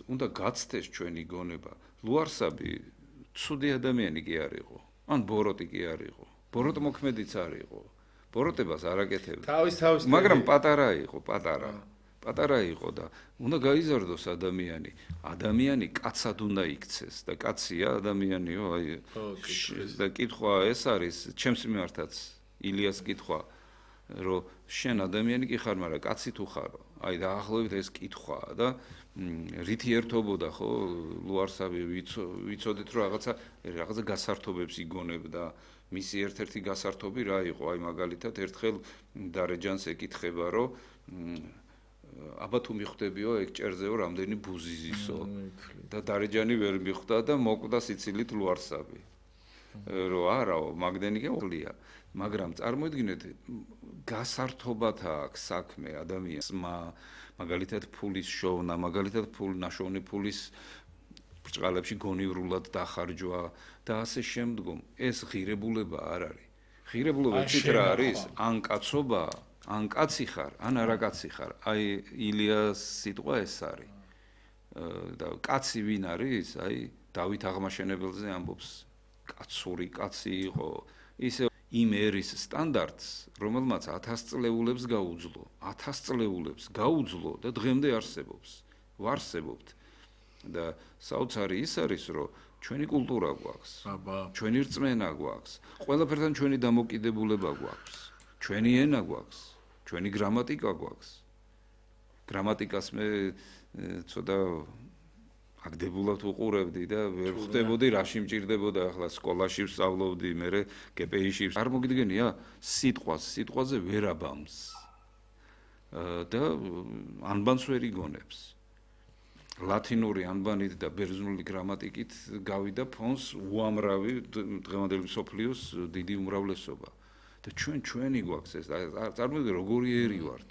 უნდა გაცდეს ჩვენი გონება. ლუარსაბი ცუდი ადამიანი კი არ იყო. ან ბოროტი კი არ იყო. ბოროტ მოქმედიც არ იყო. ბოროტებას არ აკეთებდა. თავის მაგრამ პატარა იყო, პატარა იყო და უნდა გაიზარდოს ადამიანი. ადამიანი კაცად უნდა იქცეს და კაცია ადამიანიო, აი და კითხვა ეს არის ჩემს მიმართაც ილიას კითხვა, რომ შენ ადამიანი კი ხარ, მაგრამ კაცი თუ ხარო? აი დაახლოებით ეს კითხვაა და რითი ერთობოდა ხო ლუარსაბი ვიცოდეთ რომ რაღაცა გასართობებს იგონებდა. მისი ერთ-ერთი გასართობი რა იყო? აი მაგალითად ერთხელ დარეჯანს ეკითხება რომ აბა თუ მიხვდებიო ეგ ჭერზეო რამდენი ბუზი ზისო და დარეჯანი ვერ მიხვდა და მოკვდა სიცილით ლუარსაბი. რომ არაო მაგდენი გეყლია, მაგრამ წარმოიდგინეთ გასართობათ აქვს საქმე ადამიანს, მაგალითად ფულის შოვნა, მაგალითად ნაშოვნი ფულის ბრჭყალებში გონივრულად დახარჯვა და ასე შემდგომ. ეს ღირებულება არ არის. ღირებულება ცით რა არის? ან კაცობა, ან კაცი ხარ, ან არა კაცი ხარ. აი ილიას სიტყვა ეს არის. და კაცი ვინ არის? აი დავით აღმაშენებელზე ამბობს. კაცური კაცი იყო. ისე იმ ერის სტანდარტს, რომელმაც 1000 წლეულებს გაუძლო, 1000 წლეულებს გაუძლო და დღემდე არსებობს. ვარსებობთ. და საოცარი ის არის, რომ ჩვენი კულტურა გვაქვს, ჩვენი რწმენა გვაქვს, ყველაფერთან ჩვენი დამოკიდებულება გვაქვს, ჩვენი ენა გვაქვს, ჩვენი გრამატიკა გვაქვს. გრამატიკას მე ცოტა აგდებულად უყურებდი და ვერ ხვდებოდი რაში მჭირდებოდა. ახლა სკოლაში ვსწავლობდი, მე გპ-ში არ მოგიდგენია სიტყვაზე ვერ აბამს და ანბანს ვერ იგონებს. ლათინური ანბანით და ბერძნული გრამატიკით გავიდა ფონს უამრავი დღევანდელი მსოფლიოს დიდი უმრავლესობა და ჩვენი გვაქვს ეს. წარმოიდგინე როგორი ერი ვართ.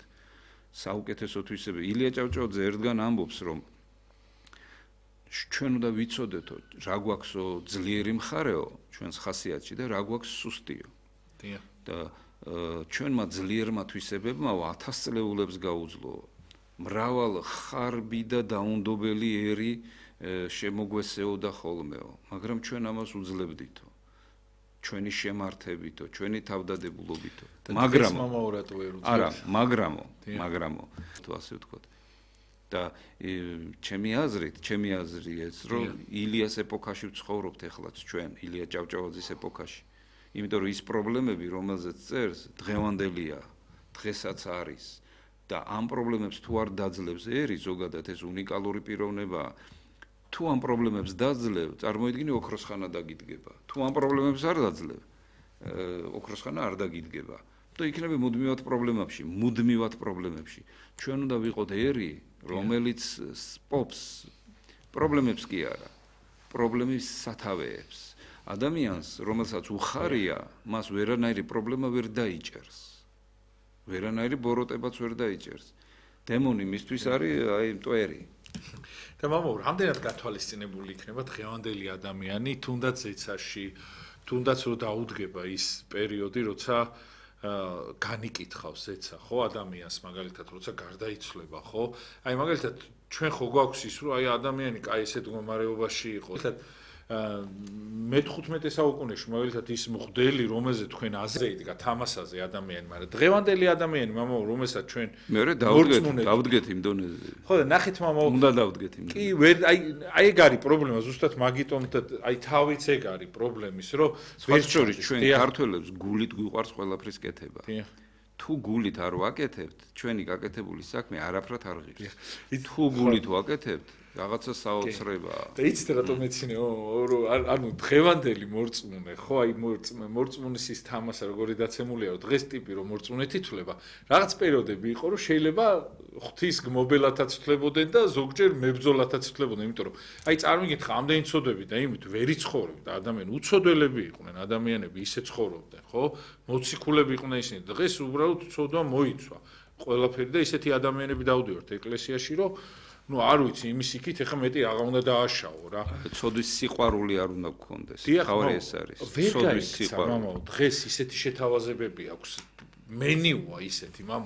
საუკეთესო თვისები. ილია ჭავჭავაძე ერთგან ამბობს რომ ჩვენ უნდა ვიცოდეთო რა გვაქვსო ძლიერი მხარეო ჩვენს ხასიათში და რა გვაქვს სუსტიო. და ჩვენმა ძლიერმა თვისებებმა 1000 წლეულებს გაუძლო. მრავალ ხარბი და დაუნდობელი ერი შემოგვესეოდა ხოლმეო, მაგრამ ჩვენ ამას უძლებდითო. ჩვენი შემართებითო, ჩვენი თავდადებულობითო. მაგრამ არა, მაგრამო, თუ ასე ვთქვათ. და ჩემი აზრი ეს, რომ ილიას ეპოქაში ვცხოვრობთ ეხლაც ჩვენ, ილია ჭავჭავაძის ეპოქაში. იმიტომ რომ ის პრობლემები, რომელზეც წერს, დღევანდელია, დღესაც არის. და ამ პრობლემებს თუ არ დაძლევს ერი, ზოგადად ეს უნიკალური პიროვნება, თუ ამ პრობლემებს დაძლევ, წარმოიდგინე ოქროსხანა დაგიდგება. თუ ამ პრობლემებს არ დაძლევ, ოქროსხანა არ დაგიდგება. და იქნება მუდმივად პრობლემებში. ჩვენ უნდა ვიყოთ ერი, რომელიც სპობს პრობლემებს კი არა, პრობლემის სათავეებს. ადამიანს, რომელსაც უხარია, მას ვერანაირი პრობლემა ვერ დაიჭერს. ვერანაირი ბოროტებაც ვერ დაიჭერს. დემონი მისთვის არის აი მტვერი. და მამაო, რამდენად გათვალისწინებული იქნება დღევანდელი ადამიანი, თუნდაც ზეცაში, თუნდაც რომ დაუდგება ის პერიოდი, როცა განიკითხავს ზეცა, ხო, ადამიანს მაგალითად, როცა გარდაიცვლება, ხო? აი მაგალითად, ჩვენ ხო გვაქვს ის, რომ აი ადამიანი კაი ესეთ მდგომარეობაში იყო. მე-15 საუკუნეში მაგალითად ის მღვდელი, რომელზეც თქვენ აზრი იდგა თამასაზე ადამიანი, მაგრამ დღევანდელი ადამიანი, მამაო, რომელსაც ჩვენ მე დავდგეთ იმ დონეზე. ხო და ნახეთ მამაო, უნდა დავდგეთ იმ. კი, აი ეგ არის პრობლემა, ზუსტად მაგიტომ და აი თავიც ეგ არის პრობლემის, რომ ვერ შორის ჩვენ ქართველებს გულით გვიყვარს ყველაფრის კეთება. თუ გულით არ ვაკეთებთ, ჩვენი გაკეთებული საქმე არაფრად არ ღირს. თუ გულით ვაკეთებთ, რაღაცა საოცრებაა. და იცით რატომ ეცინეო, ანუ დღევანდელი მორწმუნე, ხო, აი მორწმუნის ის თამასა როგორი დაცემულია, რომ დღეს ტიპი რომ მორწმუნეთ ითვლება, რაღაც პერიოდები იყო, რომ შეიძლება ღვთის გმობელათაც თვლებოდნენ და ზოგჯერ მებრძოლათაც თვლებოდნენ, იმიტომ რომ აი წარმოგიდგეთ, ამდენი ცოდვები და იმით ვერ იცხოვრებდა ადამიანი, უცოდველები იყვნენ ადამიანები, ისე ცხოვრობდნენ, ხო? მოციქულები იყვნენ ისინი. დღეს უბრალოდ ცოდვა მოიცვა ყველაფერი და ისეთი ადამიანები დავდივართ ეკლესიაში, რომ ну არ ვიცი იმის იქით ეხა მეტი აღა უნდა დააშაო რა. ცოდვის სიყვარული არ უნდა გქონდეს. თავი ეს არის. ცოდვის სიყვარული. მამაო, დღეს ისეთი შეთავაზებები აქვს. მენიუა ისეთი, მამაო,